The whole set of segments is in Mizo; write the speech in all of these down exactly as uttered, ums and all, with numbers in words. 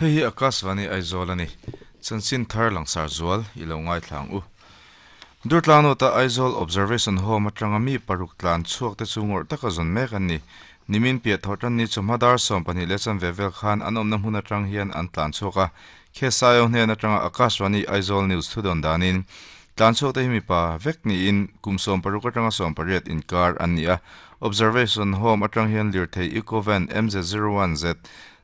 Hei hi Akashvani Aizawl ani chanchin thar langsar zual ilo ngai thlang u Durtlano ta Aizawl Observation Home atanga mi paruk tlan chuak te chungor taka zon mek an ni nimin pia thotan ni chawhma som pahnih leh chan vevel khan an awmna hmun atang hian an tlan chhuak a khesaio hnen atanga Akashvani Aizawl News thudon danin tlan chhuak te hi mipa vek niin kum sawm paruk atanga sawm pariat inkar an ni a Observation Home atang hian lirthei Ecovan M Z zero one Z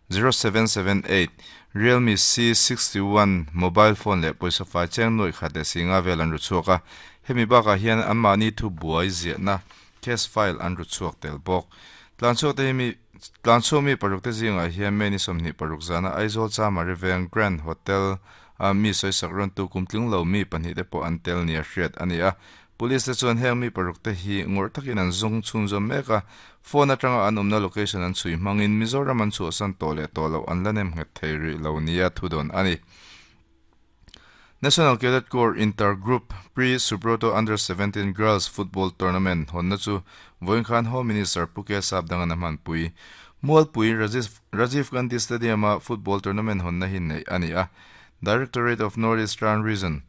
zero seven seven eight Realme C sixty-one mobile phone le poisa fai cheng noi khate singa vel an ru chuaka hemi baka hian an mani thu buai zia na case file an ru chuak tel bawk tlan chuak te mi tlan chuak mi paruk te zinga hian meni somni paruk zana Aizawl Chamari Veng Grand Hotel a mi soi sakron tu kumtling lo mi pahnih te pawh an tel nia hriat ani a police te chuan heng mi paruk te hi ngawr takin an zawng chhun zawm mek a phone atanga an awmna location an chhui hmangin Mizoram an chhuahsan tawh leh tawh loh an la nem nghet thei rih lo nia thudon ani National Cadet Corps Intergroup Pre-Subroto Under seventeen Girls Football Tournament honna chu vawiin khan Home Minister Puke Sapdanga hman pui Mualpui Rajiv Rajiv Gandhi Stadium a football tournament honna hi nei ani a Directorate of North Eastern Region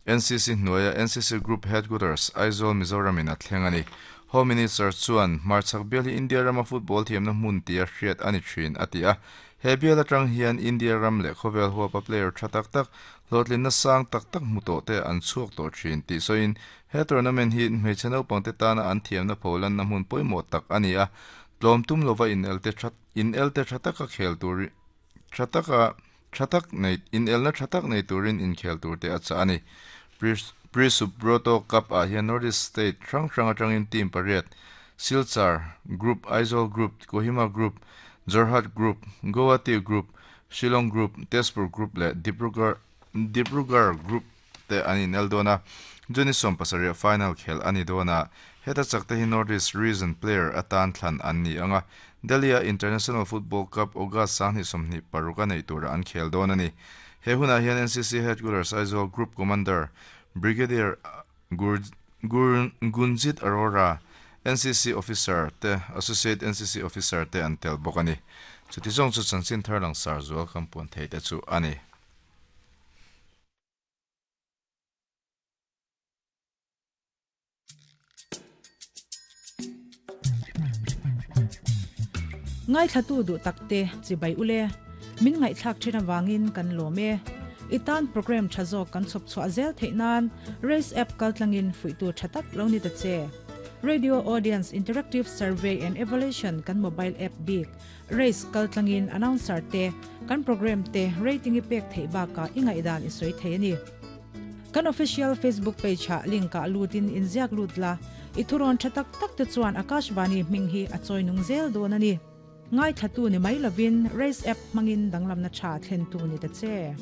N C C hnuaia N C C Group Headquarters Aizawl Mizoram in a thleng ani Home Minister chuan hmarchhak bial hi India rama football thiamna hmun tia hriat ani thin ati a he bial atang hian India ram leh khawvel huapa player tha tak tak hlawhtlin na sang tak tak hmu tawh te an chhuak tawh thin tih sawiin he tournament hi hmeichhe naupang te tana an thiamna pholan na hmun pawimawh tak ani a tlawm tum lova in el te that in el te tha taka khel tur tha taka tha tak nei in elna tha tak nei turin in khel tur te a cha ani Pre-Subroto Cup a hian North East State hrang hrang atangin team pariat Silchar Group, Aizawl Group, Kohima Group, Jorhat Group, Guwahati Group, Shillong Group, Tezpur Group leh Dibrugarh Dibrugarh Group te an in el dawn a Juni sawm pasarih final khel ani dawn a heta chak te hi North East Region player atan thlan an ni anga Delhi a International Football Cup August sanghnih sawmhnih paruk a nei tura an khel dawn ani he hunah hian N C C Headquarters Aizawl Group Commander Brigadier Gur Gur Gunjit Arora N C C Officer te Associate N C C Officer te an tel bawk ani chuti zawng chu chanchin thar langsar zual kampuan thei te chu ani ngai thatu du takte chibai ule min ngai thak thina wangin kan lome itan program thazo kan chop chwa zel theinan race app kaltlangin fuitu thatak lo ni ta che Radio Audience Interactive Survey and Evaluation kan mobile app big race kaltlangin announcer te kan program te rating ipek thei ba ka ingai dan isoi thei ni kan official Facebook page ha link ka lutin inziak lutla ithuron thatak tak te chuan Akashvani minghi achoi nung zel don ani ngai thatu ni mai lovin race app mangin danglam na tha thlen tu ni ta che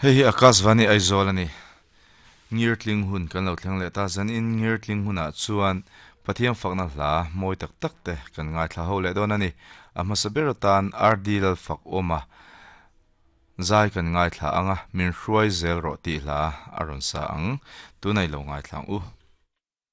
Hei hi Akashvani Aizawl ani ngirtling hun kan lo thleng leh ta zan in ngirtling hunah chuan Pathian fakna hla mawi tak tak te kan ngai thla ho leh dawn ani a hmasa ber atan R D lal fak awma zai kan ngai thla anga min hruai zel rawh tih hla a rawn sa ang tunai lo ngai thlang u.